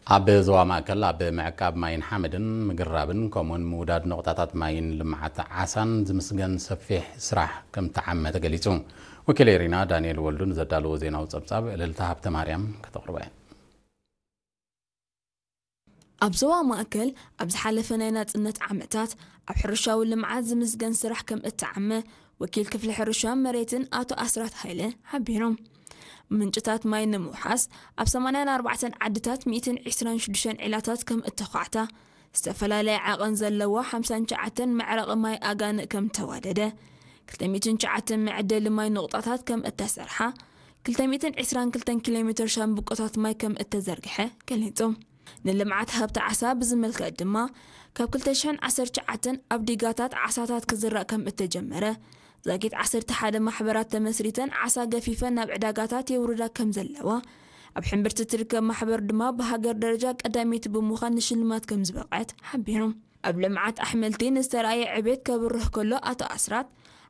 ኣብ ዞባ ማእከል ኣብ ምዕቃብ ማይን ሓመድን ምግራብን ከምኡውን ምውዳድ ነቑጣታት ማይን ልምዓት ዓሳን ዝምስገን ሰፊሕ ስራሕ ከም ተዓመ ተገሊጹ። ወኪል ኤሪና ዳንኤል ወልዱ ንዘዳለዎ ዜናዊ ጸብጻብ እልልታ ሃብተ ማርያም ከተቕርቦ እያ። ኣብ ዞባ ማእከል ኣብ ዝሓለፈ ናይ ናጽነት ዓመታት ኣብ ሕርሻዊ ልምዓት ዝምስገን ስራሕ ከም እተዓመ ወኪል ክፍሊ ሕርሻን መሬትን ኣቶ ኣስራት ሃይለ ሓቢሮም። ምንጭታት ማይ ንምውሓስ ኣብ ሰማንያን ኣርባዕተን ዓድታት ሚእትን ዕስራን ሽዱሽተን ዒላታት ከም እተዃዕታ፣ ዝተፈላለየ ዓቐን ዘለዎ ሓምሳን ትሽዓተን መዕረቒ ማይ ኣጋንእ ከም ተዋደደ፣ ክልተ ሚእትን ትሽዓተን መዐደሊ ማይ ንቑጣታት ከም እተሰርሓ፣ ክልተ ሚእትን ዕስራን ክልተን ኪሎ ሜትር ሻምብቆታት ማይ ከም እተዘርግሐ ገሊጹ። ንልምዓት ሃብቲ ዓሳ ብዝምልከት ድማ፣ ካብ ክልተ ሽሕን ዓሰርተ ትሽዓተን ኣብ ዲጋታት ዓሳታት ክዝራእ ከም እተጀመረ፣ ዛጊት ዓሰርተ ሓደ ማሕበራት ተመስሪተን ዓሳ ገፊፈን ናብ ዕዳጋታት የውርዳ ከም ዘለዋ፣ ኣብ ሕምብርቲ ትርከብ ማሕበር ድማ ብሃገር ደረጃ ቀዳመይቲ ብምዃን ንሽልማት ከም ዝበቕዐት ሓቢሮም። ኣብ ልምዓት ኣሕምልቲ ንዝተረኣየ ዕቤት ከብርህ ከሎ ኣቶ ኣስራት፣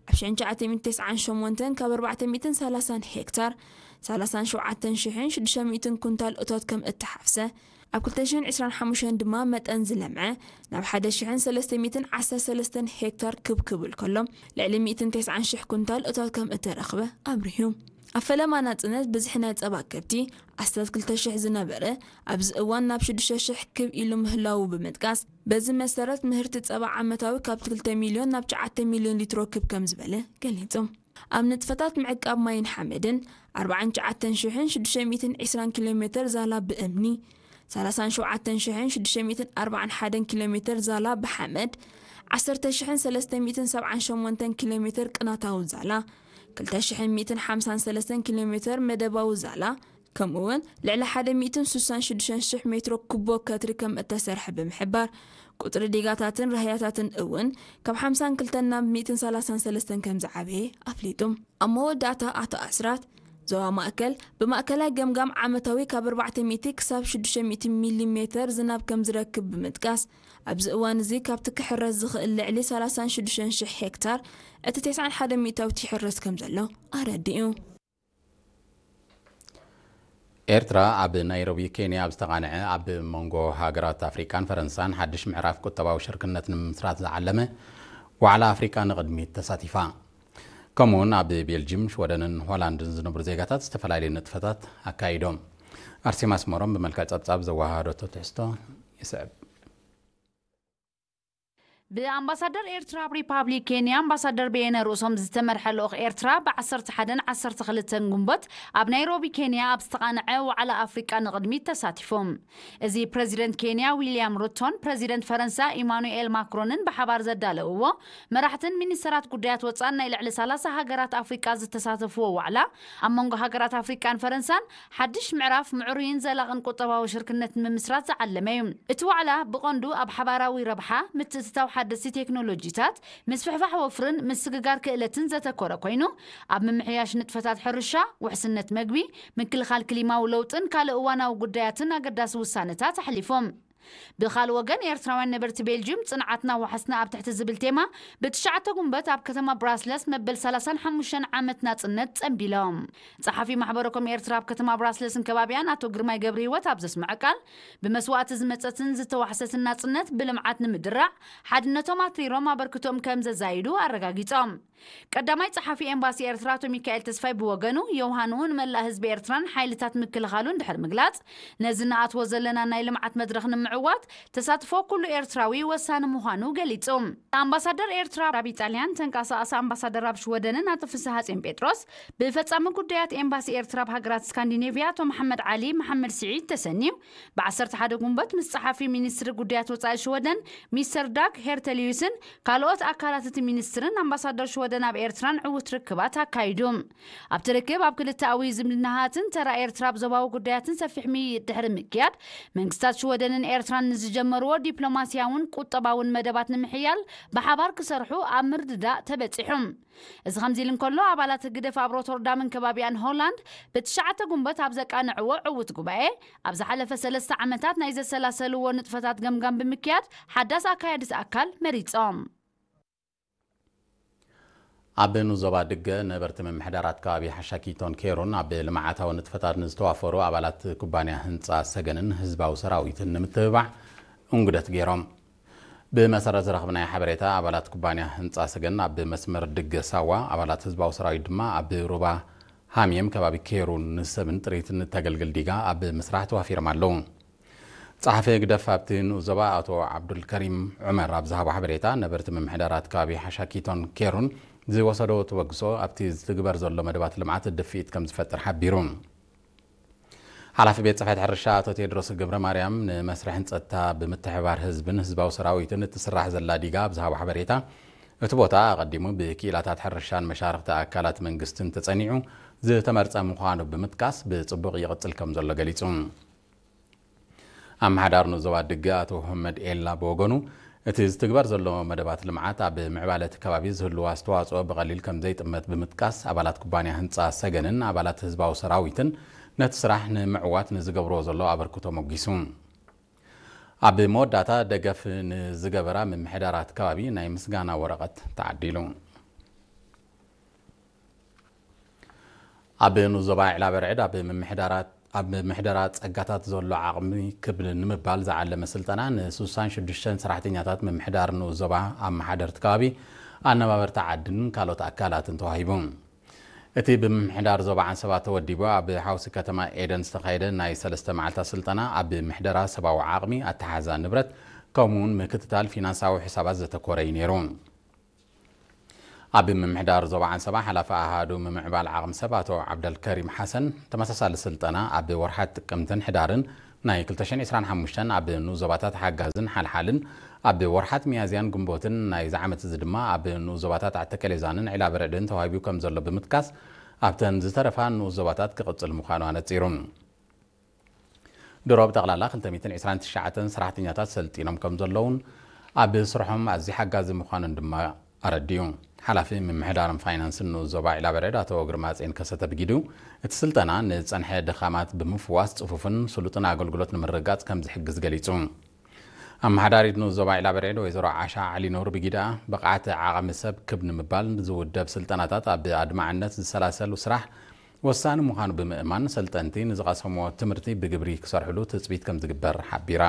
ኣብ ሽሕን ትሽዓተ ሚእትን ተስዓን ሸሞንተን ካብ ኣርባዕተ ሚእትን ሰላሳን ሄክታር ሰላሳን ሸውዓተን ሽሕን ሽዱሽተ ሚእትን ኩንታል እቶት ከም እተሓፍሰ፣ ኣብ ክልተ ሽሕን ዕስራን ሓሙሽተን ድማ መጠን ዝለምዐ ናብ ሓደ ሽሕን ሰለስተ ሚእትን ዓሰርተ ሰለስተን ሄክታር ክብ ክብል ከሎ፣ ልዕሊ ሚእትን ተስዓን ሽሕ ኩንታል እቶት ከም እተረኽበ ኣብሪሁ። ኣብ ፈለማ ናጽነት ብዝሒ ናይ ጸባ ከብቲ ኣስታት ክልተ ሽሕ ዝነበረ፣ ኣብዚ እዋን ናብ ሽዱሽተ ሽሕ ክብ ኢሉ ምህላዉ ብምጥቃስ፣ በዚ መሰረት ምህርቲ ጸባ ዓመታዊ ካብ ክልተ ሚልዮን ናብ ትሽዓተ ሚልዮን ሊትሮ ክብ ከም ዝበለ ገሊጹ። ኣብ ንጥፈታት ምዕቃብ ማይን ሓመድን ኣርባዓን ትሽዓተን ሽሕን ሽዱሽተ ሚእትን ዕስራን ኪሎ ሜትር ዛላ ብእምኒ፣ ሰላሳን ሸውዓተን ሽሕን ሽዱሽተ ሚእትን ኣርባዓን ሓደን ኪሎ ሜትር ዛላ ብሓመድ፣ ዓሰርተ ሽሕን ሰለስተ ሚእትን ሰብዓን ሸሞንተን ኪሎ ሜትር ቅናታዊ ዛላ፣ ክልተ ሽሕን ሚእትን ሓምሳን ሰለስተን ኪሎ ሜትር መደባዊ ዛላ፣ ከምኡውን ልዕሊ ሓደ ሚእትን ስሳን ሽዱሽተን ሽሕ ሜትሮ ኩቦ ከትሪ ከም እተሰርሐ ብምሕባር፣ ቁጽሪ ዲጋታትን ራህያታትን እውን ካብ ሓምሳን ክልተን ናብ ሚእትን ሰላሳን ሰለስተን ከም ዝዓበየ ኣፍሊጡ። ኣብ መወዳእታ ኣቶ ኣስራት፣ ዞባ ማእከል ብማእከላይ ገምጋም ዓመታዊ ካብ ኣርባዕተ ሚእቲ ክሳብ ሽዱሽተ ሚእቲ ሚሊ ሜተር ዝናብ ከም ዝረክብ ብምጥቃስ፣ ኣብዚ እዋን እዚ ካብቲ ክሕረስ ዝኽእል ልዕሊ ሰላሳን ሽዱሽተን ሽሕ ሄክታር እቲ ተስዓን ሓደን ሚእታዊት ይሕረስ ከም ዘሎ ኣረዲኡ። ኤርትራ ኣብ ናይሮቢ ኬንያ ኣብ ዝተቓንዐ ኣብ መንጎ ሃገራት ኣፍሪቃን ፈረንሳን ሓድሽ ምዕራፍ ቁጠባዊ ሽርክነት ንምምስራት ዝዓለመ ዋዕላ ኣፍሪቃ ንቕድሚት ተሳቲፋ። ከምኡውን ኣብ ቤልጅም፣ ሽወደንን ሆላንድን ዝነብሩ ዜጋታት ዝተፈላለዩ ንጥፈታት ኣካይዶም። ኣርሴማ ኣስመሮም ብመልክዕ ጸብጻብ ዘወሃሃደቶ ትሕዝቶ ይስዕብ። ብኣምባሳደር ኤርትራ ኣብ ሪፓብሊክ ኬንያ ኣምባሳደር በየነ ርእሶም ዝተመርሐ ልኡኽ ኤርትራ ብ ዓሰርተ ሓደን ዓሰርተ ክልተን ግንቦት ኣብ ናይሮቢ ኬንያ ኣብ ዝተቓንዐ ዋዕላ ኣፍሪቃ ንቕድሚት ተሳቲፎም። እዚ ፕረዚደንት ኬንያ ዊልያም ሩቶን ፕረዚደንት ፈረንሳ ኢማኑኤል ማክሮንን ብሓባር ዘዳለውዎ፣ መራሕትን ሚኒስተራት ጉዳያት ወጻን ናይ ልዕሊ ሰላሳ ሃገራት ኣፍሪቃ ዝተሳተፍዎ ዋዕላ፣ ኣብ መንጎ ሃገራት ኣፍሪቃን ፈረንሳን ሓድሽ ምዕራፍ ምዕሩይን ዘላቕን ቁጠባዊ ሽርክነት ንምምስራት ዝዓለመ እዩ። እቲ ዋዕላ ብቐንዱ ኣብ ሓባራዊ ረብሓ፣ ምትእትታው ሓደስቲ ቴክኖሎጂታት፣ ምስፍሕፋሕ ወፍርን ምስግጋር ክእለትን ዘተኮረ ኮይኑ፣ ኣብ ምምሕያሽ ንጥፈታት ሕርሻ፣ ውሕስነት መግቢ፣ ምክልኻል ክሊማዊ ለውጥን ካልእ እዋናዊ ጉዳያትን ኣገዳሲ ውሳነታት ኣሕሊፎም። ብኻልእ ወገን፣ ኤርትራውያን ነበርቲ ቤልጅዩም፣ ጽንዓትና ዋሕስና ኣብ ትሕቲ ዝብል ቴማ፣ ብትሽዓተ ጉንበት ኣብ ከተማ ብራስለስ መበል ሰላሳን ሓሙሽተን ዓመት ናጽነት ጸንቢሎም። ጸሓፊ ማሕበረኮም ኤርትራ ኣብ ከተማ ብራስለስን ከባቢያን ኣቶ ግርማይ ገብረህይወት ኣብ ዘስምዐ ቃል፣ ብመስዋእቲ ዝመጸትን ዝተዋሕሰትን ናጽነት ብልምዓት ንምድራዕ ሓድነቶም ኣትሪሮም ኣበርክቶኦም ከም ዘዛይዱ ኣረጋጊጾም። ቀዳማይ ጸሓፊ ኤምባሲ ኤርትራ ኣቶ ሚካኤል ተስፋይ ብወገኑ፣ ዮውሃንኡ ንመላእ ህዝቢ ኤርትራን ሓይልታት ምክልኻሉን ድሕሪ ምግላጽ፣ ነዚ ንኣትዎ ዘለና ናይ ልምዓት መድረኽ ንምዕዋት ተሳትፎ ኩሉ ኤርትራዊ ወሳኒ ምዃኑ ገሊጹ። ኣምባሳደር ኤርትራ ኣብ ኢጣልያን ተንቀሳቓሲ ኣምባሳደር ኣብ ሽወደንን ኣቶ ፍስሃ ጽዮን ጴጥሮስ፣ ብፈጻሚ ጉዳያት ኤምባሲ ኤርትራ ኣብ ሃገራት ስካንዲኔቭያ ኣቶ መሓመድ ዓሊ መሓመድ ስዒድ ተሰንዩ፣ ብ ዓሰርተ ሓደ ጉንበት ምስ ጸሓፊ ሚኒስትሪ ጉዳያት ወጻኢ ሽወደን ሚስተር ዳግ ሄርተሊዩስን ካልኦት ኣካላት እቲ ሚኒስትርን ኣምባሳደር ሽወደን ኣብ ኤርትራን ዕዉት ርክባት ኣካይዱ። ኣብቲ ርክብ፣ ኣብ ክልተኣዊ ዝምድናታትን ተራ ኤርትራ ኣብ ዞባዊ ጉዳያትን ሰፊሕ ምይይጥ ድሕሪ ምክያድ፣ መንግስታት ሽወደንን ኤርትራን ንዝጀመርዎ ዲፕሎማስያውን ቁጠባውን መደባት ንምሕያል ብሓባር ክሰርሑ ኣብ ምርድዳእ ተበጺሑ። እዚ ከምዚ ኢሉ እንከሎ፣ ኣባላት ህግደፍ ኣብ ሮተርዳምን ከባቢኣን ሆላንድ ብትሽዓተ ጉንበት ኣብ ዘቃንዕዎ ዕዉት ጉባኤ፣ ኣብ ዝሓለፈ ሰለስተ ዓመታት ናይ ዘሰላሰልዎ ንጥፈታት ገምጋም ብምክያድ ሓዳስ ኣካያዲት ኣካል መሪጾም። ኣብ ንዞባ ድገ ነበርቲ ምምሕዳራት ከባቢ ሓሻኪቶን ኬሩን ኣብ ልምዓታዊ ንጥፈታት ንዝተዋፈሩ ኣባላት ኩባንያ ህንፃ ሰገንን ህዝባዊ ሰራዊትን ንምትብባዕ እንጉደት ገይሮም። ብመሰረት ዝረኽብናዮ ሓበሬታ፣ ኣባላት ኩባንያ ህንፃ ሰገን ኣብ መስመር ድገ ሳዋ፣ ኣባላት ህዝባዊ ሰራዊት ድማ ኣብ ሩባ ሃምየም ከባቢ ኬሩን ንሰብን ጥሪትን እተገልግል ዲጋ ኣብ ምስራሕ ተዋፊሮም ኣለዉ። ጸሓፊ ህግደፍ ኣብቲ ንኡስ ዞባ ኣቶ ዓብዱልከሪም ዑመር ኣብ ዝሃቦ ሓበሬታ፣ ነበርቲ ምምሕዳራት ከባቢ ሓሻኪቶን ኬሩን ዝወሰዶ ተበግሶ ኣብቲ ዝትግበር ዘሎ መደባት ልምዓት ድፍኢት ከም ዝፈጥር ሓቢሩ። ሓላፊ ቤት ጽሕፈት ሕርሻ ኣቶ ቴድሮስ ገብረ ማርያም፣ ንመስርሕን ጸጥታ ብምትሕባር ህዝብን ህዝባዊ ሰራዊትን እትስራሕ ዘላ ዲጋ ኣብ ዝሃቦ ሓበሬታ፣ እቲ ቦታ ኣቐዲሙ ብክኢላታት ሕርሻን መሻርኽቲ ኣካላት መንግስትን ተጸኒዑ ዝተመርጸ ምዃኑ ብምጥቃስ፣ ብጽቡቕ ይቕጽል ከም ዘሎ ገሊጹ። ኣመሓዳር ንኡስ ዞባ ድገ ኣቶ ሁመድ ኤላ ብወገኑ፣ እቲ ዝትግበር ዘሎ መደባት ልምዓት ኣብ ምዕባለ እቲ ከባቢ ዝህልዎ ኣስተዋጽኦ ብቐሊል ከም ዘይጥመት ብምጥቃስ፣ ኣባላት ኩባንያ ህንጻ ሰገንን ኣባላት ህዝባዊ ሰራዊትን ነቲ ስራሕ ንምዕዋት ንዝገብርዎ ዘሎ ኣበርክቶ ሞጊሱ። ኣብ መወዳእታ፣ ደገፍ ንዝገበራ ምምሕዳራት ከባቢ ናይ ምስጋና ወረቐት ተዓዲሉ። ኣብ ንኡስ ዞባ ዒላ በርዕድ ኣብ ምምሕዳራት፣ ኣብ ምምሕዳራ ጸጋታት ዘሎ ዓቕሚ ክብ ንምባል ዝዓለመ ስልጠና ን ሽዱሽተ ሰራሕተኛታት ምምሕዳር ንኡስ ዞባ፣ ኣመሓደርቲ ከባቢ፣ ኣነባበርቲ ዓድን ካልኦት ኣካላትን ተዋሂቡ። እቲ ብምምሕዳር ዞባ ዓንሰባ ተወዲቡ ኣብ ሓውሲ ከተማ ኤደን ዝተኻየደ ናይ ሰለስተ መዓልታት ስልጠና፣ ኣብ ምሕደራ ሰብኣዊ ዓቕሚ፣ ኣተሓዛ ንብረት፣ ከምኡውን ምክትታል ፊናንሳዊ ሕሳባት ዘተኮረ እዩ ነይሩ። ኣብ ምምሕዳር ዞባ ዓንሰባ ሓላፊ ኣሃዱ ምምዕባል ዓቕሚ ሰብ ኣቶ ዓብደልከሪም ሓሰን፣ ተመሳሳሊ ስልጠና ኣብ ወርሓት ጥቅምትን ሕዳርን ናይ ክልተ ሽሕን ዕስራን ሓሙሽተን ኣብ ንኡስ ዞባታት ሓጋዝን ሓልሓልን፣ ኣብ ወርሓት ሚያዝያን ግንቦትን ናይዚ ዓመት እዚ ድማ ኣብ ንኡስ ዞባታት ዓተከሌዛንን ዒላበረድን ተዋሂቡ ከም ዘሎ ብምጥቃስ፣ ኣብተን ዝተረፋ ንኡስ ዞባታት ክቕጽል ምዃኑ ኣነጺሩ። ድሮ ብጠቕላላ ክልተ ሚእትን ዕስራን ትሽዓተን ሰራሕተኛታት ሰልጢኖም ከም ዘለውን ኣብ ስርሖም ኣዝዩ ሓጋዚ ምዃኑን ድማ ኣረዲኡ። ሓላፊ ምምሕዳርን ፋይናንስን ንኡስ ዞባ ዒላበረድ ኣቶ ግርማጼን ከሰተ ብጊዱ፣ እቲ ስልጠና ንጸንሐ ድኻማት ብምፍዋስ ጽፉፍን ስሉጥን ኣገልግሎት ንምርግጋጽ ከም ዝሕግዝ ገሊጹ። ኣመሓዳሪት ንኡስ ዞባ ዒላበረድ ወይዘሮ ዓሻ ዓሊኑር ብጊዳ፣ ብቕዓት ዓቕሚ ሰብ ክብ ንምባል ዝውደብ ስልጠናታት ኣብ ኣድማዕነት ዝሰላሰሉ ስራሕ ወሳኒ ምዃኑ ብምእማን፣ ሰልጠንቲ ንዝቐሰምዎ ትምህርቲ ብግብሪ ክሰርሕሉ ትጽቢት ከም ዝግበር ሓቢራ።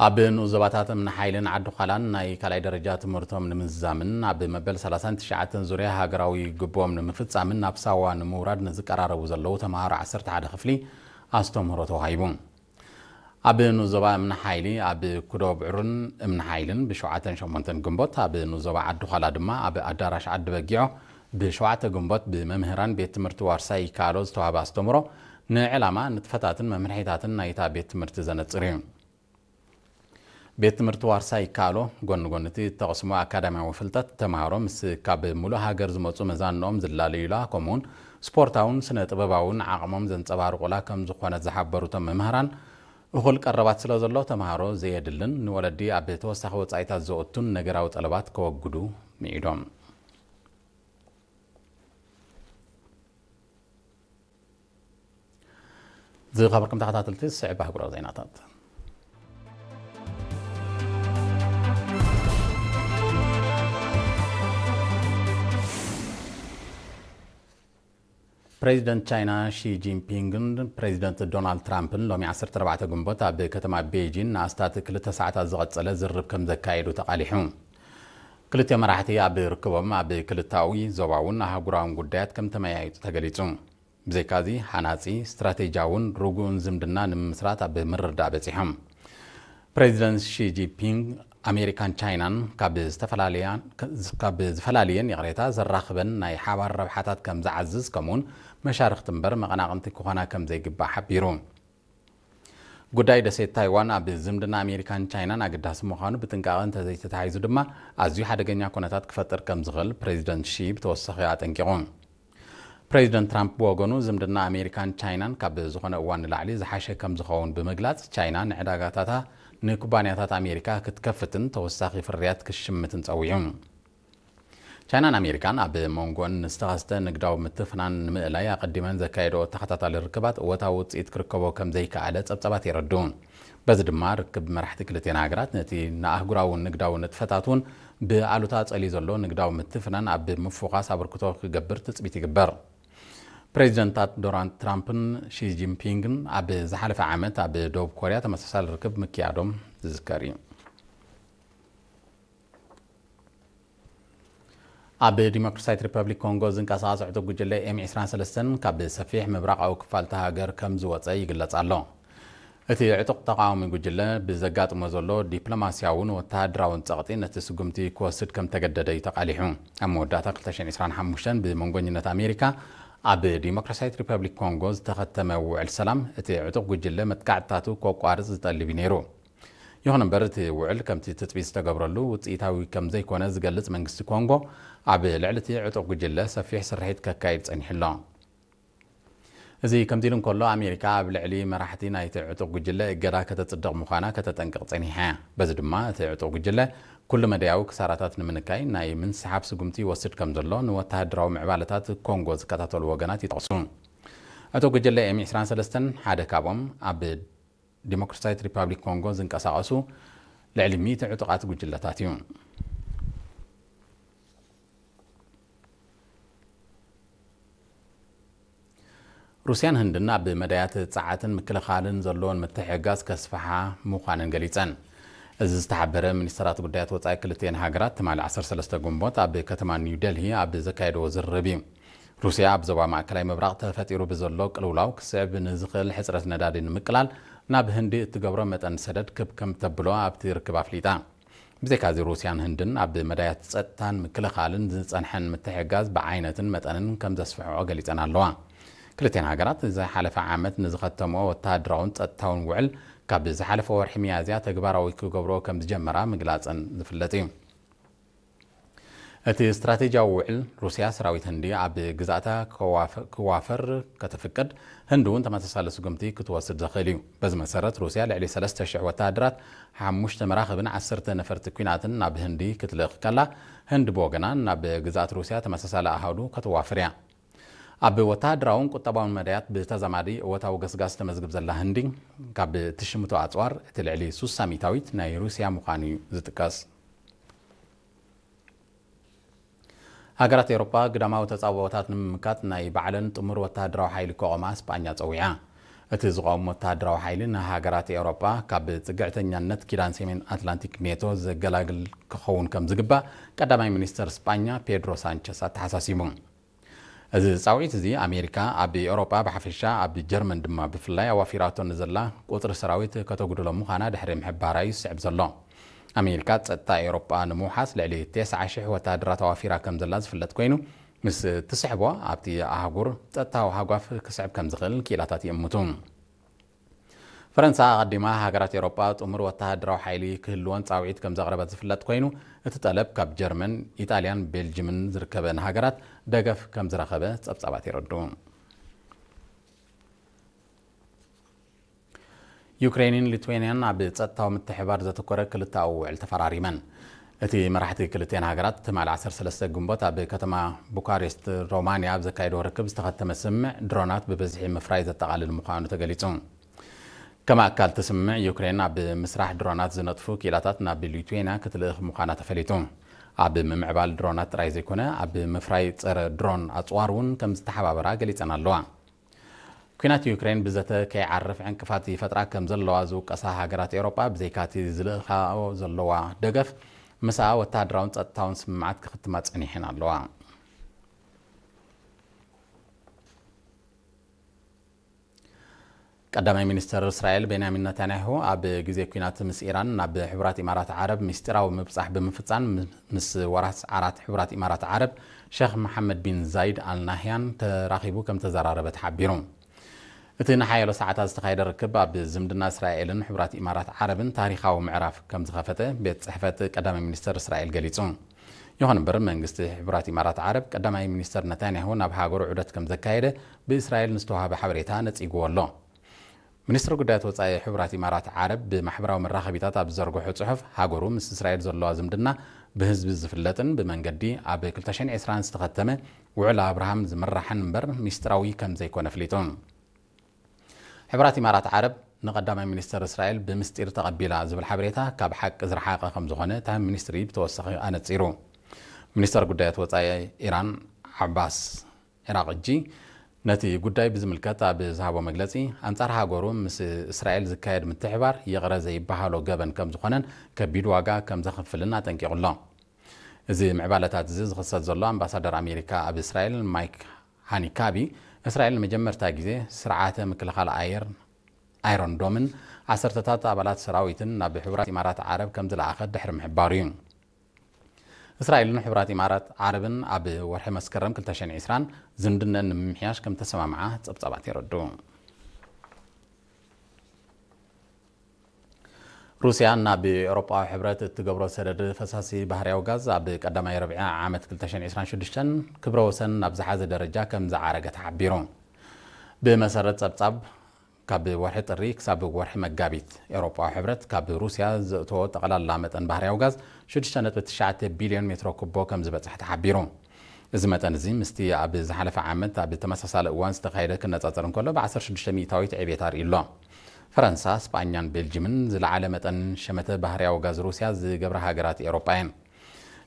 ኣብ ንኡስ ዞባታት እምኒ ሓይልን ዓዲ ዃላን ናይ ካልኣይ ደረጃ ትምህርቶም ንምዝዛምን ኣብ መበል ሰላሳን ትሽዓተን ዙርያ ሃገራዊ ግቡኦም ንምፍጻምን ናብ ሳዋ ንምውራድ ንዝቀራረቡ ዘለዉ ተምሃሮ ዓሰርተ ሓደ ክፍሊ ኣስተምህሮ ተዋሂቡ። ኣብ ንኡስ ዞባ እምኒ ሓይሊ ኣብ ኩዶ ብዕሩን እምኒ ሓይልን ብሸውዓተን ሸሞንተን ግንቦት፣ ኣብ ንኡስ ዞባ ዓዲ ዃላ ድማ ኣብ ኣዳራሽ ዓዲ በጊዖ ብሸውዓተ ግንቦት ብመምህራን ቤት ትምህርቲ ዋርሳይ ይከኣሎ ዝተዋህበ ኣስተምህሮ ንዕላማ፣ ንጥፈታትን መምርሒታትን ናይታ ቤት ትምህርቲ ዘነጽር እዩ። ቤት ትምህርቲ ዋርሳይ ይከኣሎ፣ ጎኒ ጎኒ እቲ እተቕስሞ ኣካዳሚያዊ ፍልጠት፣ ተምሃሮ ምስ ካብ ሙሉእ ሃገር ዝመጹ መዛንኦም ዝላለዩላ፣ ከምኡውን ስፖርታውን ስነ ጥበባውን ዓቕሞም ዘንጸባርቑላ ከም ዝኾነት ዝሓበሩ እቶም መምህራን፣ እኹል ቀረባት ስለ ዘሎ፣ ተምሃሮ ዘየድልን ንወለዲ ኣብ ተወሳኺ ወጻኢታት ዘእቱን ነገራዊ ጠለባት ከወግዱ ምዒዶም። ዝኸበርኩም ተኸታተልቲ፣ ዝስዕብ ኣህጉራዊ ዜናታት። ፕሬዚደንት ቻይና ሺ ጂንፒንግን ፕሬዚደንት ዶናልድ ትራምፕን ሎሚ ዓሰርተ ኣርባዕተ ግንቦት ኣብ ከተማ ቤጂን ንኣስታት ክልተ ሰዓታት ዝቐጸለ ዝርርብ ከም ዘካየዱ ተቓሊሑ። ክልቲኦም መራሕቲ ኣብ ርክቦም ኣብ ክልታዊ፣ ዞባውን ኣህጉራውን ጉዳያት ከም ተመያየጡ ተገሊጹ። ብዘይካዚ፣ ሃናጺ፣ ስትራቴጂያውን ርጉእን ዝምድና ንምምስራት ኣብ ምርድዳእ በጺሖም። ፕሬዚደንት ሺ ጂንፒንግ፣ ኣሜሪካን ቻይናን ካብ ዝተፈላለያ-፣ ካብ ዝፈላለየን፣ ይቕሬታ፣ ዘራኽበን ናይ ሓባር ረብሓታት ከም ዝዓዝዝ፣ ከምኡውን መሻርኽቲ እምበር መቐናቕንቲ ክኾና ከም ዘይግባእ ሓቢሩ። ጉዳይ ደሴት ታይዋን ኣብ ዝምድና ኣሜሪካን ቻይናን ኣገዳሲ ምዃኑ፣ ብጥንቃቐ እንተዘይተታሒዙ ድማ ኣዝዩ ሓደገኛ ኩነታት ክፈጥር ከም ዝኽእል ፕሬዚደንት ሺ ብተወሳኺ ኣጠንቂቑ። ፕሬዚደንት ትራምፕ ብወገኑ፣ ዝምድና ኣሜሪካን ቻይናን ካብ ዝኾነ እዋን ንላዕሊ ዝሓሸ ከም ዝኸውን ብምግላጽ፣ ቻይና ንዕዳጋታታ ንኩባንያታት ኣሜሪካ ክትከፍትን ተወሳኺ ፍርያት ክትሽምትን ጸዊዑ። ቻይናን ኣሜሪካን ኣብ መንጎን ንዝተኸስተ ንግዳዊ ምትፍናን ንምእላይ ኣቐዲመን ዘካየደኦ ተኸታታሊ ርክባት እወታዊ ውጽኢት ክርከቦ ከም ዘይከኣለ ጸብጻባት የረድኡ። በዚ ድማ ርክብ መራሕቲ ክልቲኣን ሃገራት ነቲ ንኣህጉራዊ ንግዳዊ ንጥፈታት እውን ብኣሉታ ጸልዩ ዘሎ ንግዳዊ ምትፍናን ኣብ ምፍዃስ ኣበርክቶ ክገብር ትጽቢት ይግበር። ፕሬዚደንታት ዶናልድ ትራምፕን ሺ ጂንፒንግን ኣብ ዝሓለፈ ዓመት ኣብ ደቡብ ኮርያ ተመሳሳሊ ርክብ ምክያዶም ዝዝከር እዩ። ኣብ ዲሞክራሲያዊት ሪፐብሊክ ኮንጎ ዝንቀሳቐስ ዕጡቕ ጉጅለ ኤም ዕስራን ሰለስተን ካብ ሰፊሕ ምብራቓዊ ክፋል እታ ሃገር ከም ዝወጸ ይግለጽ ኣሎ። እቲ ዕጡቕ ተቓዋሚ ጉጅለ ብዘጋጥሞ ዘሎ ዲፕሎማስያውን ወተሃደራውን ጸቕጢ ነቲ ስጉምቲ ክወስድ ከም ተገደደ እዩ ተቓሊሑ። ኣብ መወዳእታ ክልተ ሽሕን ዕስራን ሓሙሽተን ብመንጎኝነት ኣሜሪካ ኣብ ዲሞክራሲያዊት ሪፐብሊክ ኮንጎ ዝተኸተመ ውዕል ሰላም እቲ ዕጡቕ ጉጅለ መጥቃዕትታቱ ከቋርጽ ዝጠልብ እዩ ነይሩ። ይኹን እምበር እቲ ውዕል ከምቲ ትጽቢት ዝተገብረሉ ውጽኢታዊ ከም ዘይኮነ ዝገልጽ መንግስቲ ኮንጎ ኣብ ልዕሊ እቲ ዕጡቕ ጉጅለ ሰፊሕ ስርሒት ከካይድ ጸኒሑ ኣሎ። እዚ ከምዚ ኢሉ እንከሎ ኣሜሪካ ኣብ ልዕሊ መራሕቲ ናይቲ ዕጡቕ ጉጅለ እገዳ ከተጽድቕ ምዃና ከተጠንቅቕ ጸኒሓ እያ። በዚ ድማ እቲ ዕጡቕ ጉጅለ ኩሉ መዳያዊ ክሳራታት ንምንካይ ናይ ምንስሓብ ስጉምቲ ይወስድ ከም ዘሎ ንወተሃደራዊ ምዕባለታት ኮንጎ ዝከታተሉ ወገናት ይጠቕሱ። ዕጡቕ ጉጅለ ኤም ዕስራን ሰለስተን ሓደ ካብኦም ኣብ ዲሞክራሲያዊት ሪፓብሊክ ኮንጎ ዝንቀሳቐሱ ልዕሊ ሚእቲ ዕጡቓት ጉጅለታት እዩ። ሩስያን ህንድን ኣብ መዳያት ጸዓትን ምክልኻልን ዘለዎን ምትሕግጋዝ ከስፍሓ ምዃነን ገሊጸን። እዚ ዝተሓበረ ሚኒስተራት ጉዳያት ወጻኢ ክልቲኤን ሃገራት ትማሊ ዓሰርተ ሰለስተ ግንቦት ኣብ ከተማ ኒው ደልሂ ኣብ ዘካየድዎ ዝርርብ እዩ። ሩስያ ኣብ ዞባ ማእከላይ ምብራቕ ተፈጢሩ ብዘሎ ቅልውላው ክስዕብ ንዝኽእል ሕጽረት ነዳዲ ንምቅላል ናብ ህንዲ እትገብሮ መጠን ሰደድ ክብ ከም ተብሎ ኣብቲ ርክብ ኣፍሊጣ። ብዘይካዚ ሩስያን ህንድን ኣብ መዳያት ጸጥታን ምክልኻልን ዝጸንሐን ምትሕግጋዝ ብዓይነትን መጠንን ከም ዘስፍሕኦ ገሊጸን ኣለዋ። ክልቲኤን ሃገራት ዝሓለፈ ዓመት ንዝኸተምኦ ወተሃደራውን ጸጥታውን ውዕል ካብ ዝሓለፈ ወርሒ ሚያዝያ ተግባራዊ ክገብርኦ ከም ዝጀመራ ምግላጸን ዝፍለጥ እዩ። እቲ ስትራቴጂያዊ ውዕል ሩስያ ሰራዊት ህንዲ ኣብ ግዛእታ ክዋፈ- ክዋፈር ከተፍቅድ ህንዲ እውን ተመሳሳሊ ስጉምቲ ክትወስድ ዘኽእል እዩ። በዚ መሰረት ሩስያ ልዕሊ ሰለስተ ሽሕ ወተሃደራት፣ ሓሙሽተ መራኽብን ዓሰርተ ነፈርቲ ኲናትን ናብ ህንዲ ክትልእኽ ከላ፣ ህንዲ ብወገና ናብ ግዛኣት ሩስያ ተመሳሳሊ ኣሃዱ ከተዋፍር እያ። ኣብ ወተሃደራውን ቁጠባውን መዳያት ብተዛማዲ እወታዊ ገስጋስ ተመዝግብ ዘላ ህንዲ፣ ካብ እትሽምቶ ኣጽዋር እቲ ልዕሊ ሱሳ ሚእታዊት ናይ ሩስያ ምዃኑ እዩ ዝጥቀስ። ሃገራት ኤውሮጳ ግዳማዊ ተጻብኦታት ንምምካት ናይ ባዕለን ጥሙር ወተሃደራዊ ሓይሊ ክቖማ ስጳኛ ጸዊዓ። እቲ ዝቖም ወተሃደራዊ ሓይሊ ንሃገራት ኤውሮጳ ካብ ጽግዕተኛነት ኪዳን ሰሜን ኣትላንቲክ ኔቶ ዘገላግል ክኸውን ከም ዝግባእ ቀዳማይ ሚኒስተር ስጳኛ ፔድሮ ሳንቸስ ኣተሓሳሲቡ። እዚ ጻውዒት እዚ ኣሜሪካ ኣብ ኤውሮጳ ብሓፈሻ ኣብ ጀርመን ድማ ብፍላይ ኣዋፊራቶ ንዘላ ቁጽሪ ሰራዊት ከተጉድሎ ምዃና ድሕሪ ምሕባራ እዩ ዝስዕብ ዘሎ። ኣሜሪካ ጸጥታ ኤውሮጳ ንምውሓስ ልዕሊ ተስዓ ሽሕ ወተሃደራት ኣዋፊራ ከም ዘላ ዝፍለጥ ኮይኑ፣ ምስ ትስሕቦ ኣብቲ ኣህጉር ጸጥታዊ ሃጓፍ ክስዕብ ከም ዝኽእል ክኢላታት ይእምቱ። ፈረንሳ ኣቐዲማ ሃገራት ኤውሮጳ ጥሙር ወተሃደራዊ ሓይሊ ክህልወን ጻውዒት ከም ዘቕረበት ዝፍለጥ ኮይኑ፣ እቲ ጠለብ ካብ ጀርመን፣ ኢጣልያን ቤልጅምን ዝርከበን ሃገራት ደገፍ ከም ዝረኸበ ጸብጻባት የረድኡ። ዩክሬንን ሊትዌንያን ኣብ ጸጥታዊ ምትሕባር ዘተኮረ ክልተኣዊ ውዕል ተፈራሪመን። እቲ መራሕቲ ክልቲኤን ሃገራት ትማሊ ዓሰርተ ሰለስተ ግንቦት ኣብ ከተማ ቡካሬስት ሮማንያ ኣብ ዘካየድዎ ርክብ ዝተኸተመ ስምምዕ ድሮናት ብብዝሒ ምፍራይ ዘጠቓልል ምዃኑ ተገሊጹ። ከም ኣካል እቲ ስምምዕ ዩክሬን ኣብ ምስራሕ ድሮናት ዝነጥፉ ክኢላታት ናብ ሊትዌንያ ክትልእኽ ምዃና ተፈሊጡ። ኣብ ምምዕባል ድሮናት ጥራይ ዘይኮነ ኣብ ምፍራይ ጸረ ድሮን ኣጽዋር እውን ከም ዝተሓባበራ ገሊጸን ኣለዋ። ኲናት ዩክሬን ብዘተ ከይዓርፍ ዕንቅፋት ይፈጥራ ከም ዘለዋ ዝውቀሳ ሃገራት ኤውሮጳ ብዘይካቲ ዝልእኻኦ ዘለዋ ደገፍ ምስኣ ወተሃደራውን ጸጥታውን ስምምዓት ክኽትማ ጸኒሐን ኣለዋ። ቀዳማይ ሚኒስተር እስራኤል ቤንያሚን ነታንያሁ ኣብ ግዜ ኲናት ምስ ኢራን ናብ ሕቡራት ኢማራት ዓረብ ምስጢራዊ ምብጻሕ ብምፍጻም ምስ ወራስ ዓራት ሕቡራት ኢማራት ዓረብ ሸኽ መሓመድ ቢን ዛይድ ኣል ናህያን ተራኺቡ ከም ተዘራረበ ተሓቢሩ። እቲ ንሓያሎ ሰዓታት ዝተኻየደ ርክብ ኣብ ዝምድና እስራኤልን ሕቡራት ኢማራት ዓረብን ታሪኻዊ ምዕራፍ ከም ዝኸፈተ ቤት ጽሕፈት ቀዳማይ ሚኒስተር እስራኤል ገሊጹ። ይኹን እምበር መንግስቲ ሕቡራት ኢማራት ዓረብ ቀዳማይ ሚኒስተር ነታንያሁ ናብ ሃገሩ ዑደት ከም ዘካየደ ብእስራኤል ንዝተዋሃበ ሓበሬታ ነጺግዎ ኣሎ። ሚኒስትሪ ጉዳያት ወጻኢ ሕቡራት ኢማራት ዓረብ ብማሕበራዊ መራኸቢታት ኣብ ዝዘርግሖ ጽሑፍ፣ ሃገሩ ምስ እስራኤል ዘለዋ ዝምድና ብህዝቢ ዝፍለጥን ብመንገዲ ኣብ ክልተ ሽሕን ዕስራን ዝተኸተመ ውዕል ኣብርሃም ዝምራሕን እምበር ሚስጥራዊ ከም ዘይኮነ ኣፍሊጡ። ሕቡራት ኢማራት ዓረብ ንቀዳማይ ሚኒስተር እስራኤል ብምስጢር ተቐቢላ ዝብል ሓበሬታ ካብ ሓቂ ዝረሓቐ ከም ዝኾነ እቲ ሚኒስትሪ ብተወሳኺ ኣነጺሩ። ሚኒስተር ጉዳያት ወጻኢ ኢራን ዓባስ ኢራቕጂ ነቲ ጉዳይ ብዝምልከት ኣብ ዝሃቦ መግለጺ፣ ኣንጻር ሃገሩ ምስ እስራኤል ዝካየድ ምትሕባር ይቕረ ዘይበሃሎ ገበን ከም ዝኾነን ከቢድ ዋጋ ከም ዘኽፍልን ኣጠንቂቑ ኣሎ። እዚ ምዕባለታት እዚ ዝኽሰት ዘሎ ኣምባሳደር ኣሜሪካ ኣብ እስራኤል ማይክ ሃኒካቢ፣ እስራኤል ንመጀመርታ ግዜ ስርዓተ ምክልኻል ኣየር ኣይሮን ዶምን ዓሰርተታት ኣባላት ሰራዊትን ናብ ሕቡራት ኢማራት ዓረብ ከም ዝለኣኸት ድሕሪ ምሕባሩ እዩ። እስራኤልን ሕቡራት ኢማራት ዓረብን ኣብ ወርሒ መስከረም ክልተ ሽሕን ዕስራን ዝምድነን ንምምሕያሽ ከም ተሰማምዓ ጸብጻባት የረድኡ። ሩስያ ናብ ኤውሮጳዊ ሕብረት እትገብሮ ሰደድ ፈሳሲ ባህርያዊ ጋዝ ኣብ ቀዳማይ ረብዒ ዓመት ክልተ ሽሕን ዕስራን ሽዱሽተን ክብረ ወሰን ናብ ዝሓዘ ደረጃ ከም ዝዓረገ ተሓቢሩ። ብመሰረት ጸብጻብ፣ ካብ ወርሒ ጥሪ ክሳብ ወርሒ መጋቢት፣ ኤውሮጳዊ ሕብረት ካብ ሩስያ ዘእተዎ ጠቕላላ መጠን ባህርያዊ ጋዝ ሽዱሽተ ነጥቢ ትሽዓተ ቢልዮን ሜትሮ ኩቦ ከም ዝበጽሕ ተሓቢሩ። እዚ መጠን እዚ ምስቲ ኣብ ዝሓለፈ ዓመት ኣብ ተመሳሳሊ እዋን ዝተኻየደ ክነጻጸር እንከሎ፣ ብ ዓሰርተ ሽዱሽተ ሚእታዊት ዕቤት ኣርእዩ ኣሎ። ፈረንሳ፣ ስጳኛን ቤልጅምን ዝለዓለ መጠን ሸመተ ባህርያዊ ጋዝ ሩስያ ዝገብራ ሃገራት ኤውሮጳ እየን።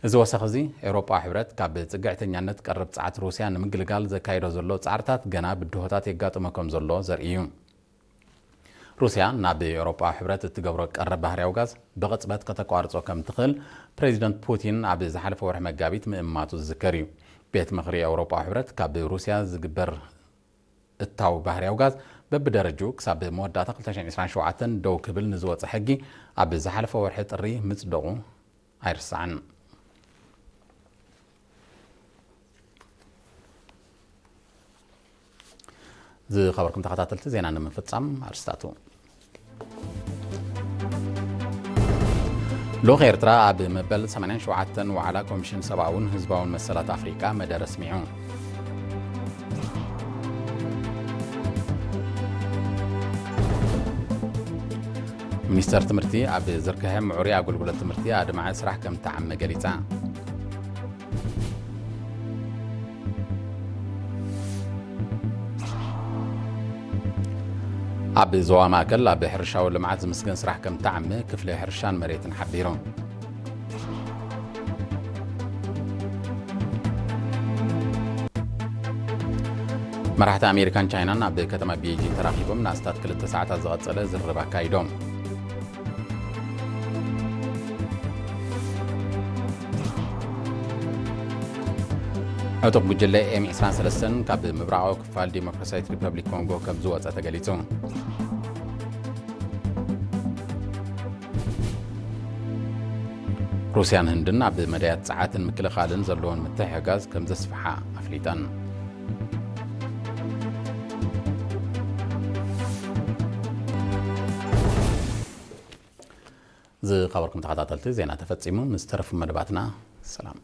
እዚ ወሰኽ እዚ፣ ኤውሮጳዊ ሕብረት ካብ ጽግዕተኛነት ቀረብ ጸዓት ሩስያ ንምግልጋል ዘካይዶ ዘሎ ጻዕርታት ገና ብድሆታት የጋጥሞ ከም ዘሎ ዘርኢ እዩ። ሩስያ ናብ ኤውሮጳዊ ሕብረት እትገብሮ ቀረብ ባህርያዊ ጋዝ ብቕጽበት ከተቋርጾ ከም ትኽእል ፕሬዚደንት ፑቲን ኣብ ዝሓለፈ ወርሒ መጋቢት ምእማቱ ዝዝከር እዩ። ቤት ምኽሪ ኤውሮጳዊ ሕብረት ካብ ሩስያ ዝግበር እታው ባህርያዊ ጋዝ በብደረጅኡ ክሳብ መወዳእታ ክልተ ሽሕን ዕስራን ሸውዓተን ደው ክብል ንዝወጸ ሕጊ ኣብ ዝሓለፈ ወርሒ ጥሪ ምጽደቑ ኣይርሳዕን። ዝኸበርኩም ተኸታተልቲ ዜና ንምፍጻም ኣርስታቱ። ልኡኽ ኤርትራ ኣብ መበል ሰማንያን ሸውዓተን ዋዕላ ኮሚሽን ሰብኣውን ህዝባውን መሰላት ኣፍሪቃ መደረ ኣስሚዑ። ሚኒስተር ትምህርቲ ኣብ ዝርግሐ ምዕሩይ ኣገልግሎት ትምህርቲ ኣድማዒ ስራሕ ከም እተዓመ ገሊጻ። ኣብ ዞባ ማእከል ኣብ ሕርሻዊ ልምዓት ዝምስገን ስራሕ ከም እተዓመ ክፍሊ ሕርሻን መሬትን ሓቢሩ። መራሕቲ ኣሜሪካን ቻይናን ኣብ ከተማ ቤጂን ተራኺቦም ንኣስታት ክልተ ሰዓታት ዝቐጸለ ዝርርብ ኣካይዶም። ዕጡቕ ጉጅለ ኤም ዕስራን ሰለስተን ካብ ምብራቓዊ ክፋል ዲሞክራሲያዊት ሪፐብሊክ ኮንጎ ከም ዝወጸ ተገሊጹ። ሩስያን ህንድን ኣብ መዳያት ጸዓትን ምክልኻልን ዘለዎን ምትሕግጋዝ ከም ዘስፍሓ ኣፍሊጠን። ዝኸበርኩም ተኸታተልቲ፣ ዜና ተፈጺሙ። ምስ ተረፉ መደባትና ሰላም።